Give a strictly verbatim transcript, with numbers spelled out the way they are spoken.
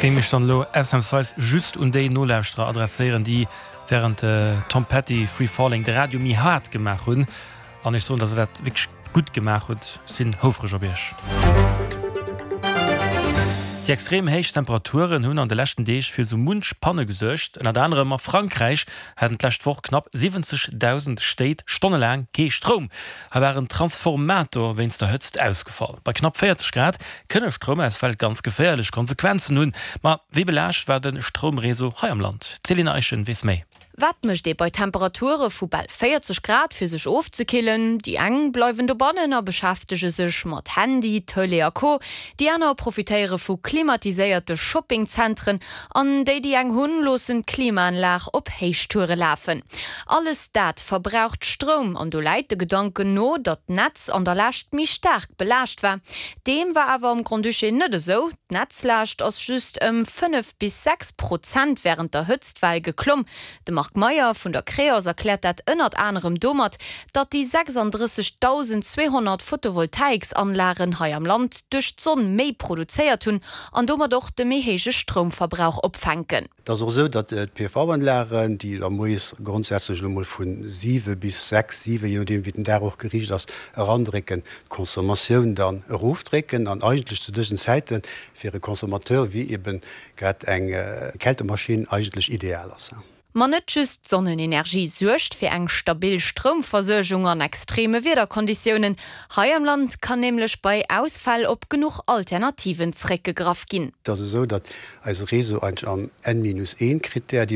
Géing mech dann elo ausnamsweis just un déi Nolauschterer adresséieren, déi wärend Tom Petty Free Falling de Radio méi haart gemaach hunn. An ech soen, dass der dat wierklech gutt gemaach hutt. Sinn houfreg op iech. Déi extrem héich Temperaturen hunn an de leschten Deeg fir sou munch Panne gesuergt. Ënnert anerem a Frankräich haten d'lescht Woch knapp siwwenzegdausend Stéit stonnelaang kee Stroum. Hei war en Transformator wéinst der Hëtzt ausgefall. Bei knapp véierzeg Grad kënne Stroumausfäll ganz geféierlech Konsequenzen hunn. Ma wéi belaascht war de Stroumreseau hei am Land? D'Céline Eischen weess méi. Wat mécht ee bei Temperature vu bal véierzeg Grad fir sech ofzekillen? Déi eng bleiwen dobannen a beschäftege sech mat Handy, Tëlee a Co. Déi aner profitéiere vu klimatiséierte Shoppingzentren an déi, déi eng hunn, loossen d'Klimaanlag op Héichtoure lafen. Alles dat verbraucht Stroum an do läit de Gedanken no, datt d'Netz an der Lescht méi staark belaascht war. Deem war awer am Grand-Duché net esou. D'Netzlaascht ass just ëm fënnef bis sechs Prozent wärend der Hëtztwell geklomm. De Marc Meyer vun der Creos erkläert dat ënnert anerem domat, datt déi sechsanddrëssegdausend zweehonnert Photovoltaiksanlagen hei am Land duerch d'Sonn méi produzéiert hunn an domat och de méi héije Stroumverbrauch opfänken. Et ass och esou, datt d'P V-Anlagen, déi da moies grondsätzlech elo mol vu siwe bis sechs, siwe, je nodeem wéi den Dag och geriicht ass, erandrécken, d'Consommatioun dann erofdrécken an eigentlech zu dësen Zäite fir e Consommateur wéi eben grad eng Kältemaschinn eigentlech ideal ass. Ma net just d'Sonnenenergie suergt fir eng stabil Stroumversuergung an extreme Wiederkonditiounen. Hei am Land kann nämlech bei Ausfäll op genuch Alternativen zeréckgegraff ginn. Et ass esou, datt eise Réseau eigentlech am N minus een Krittär,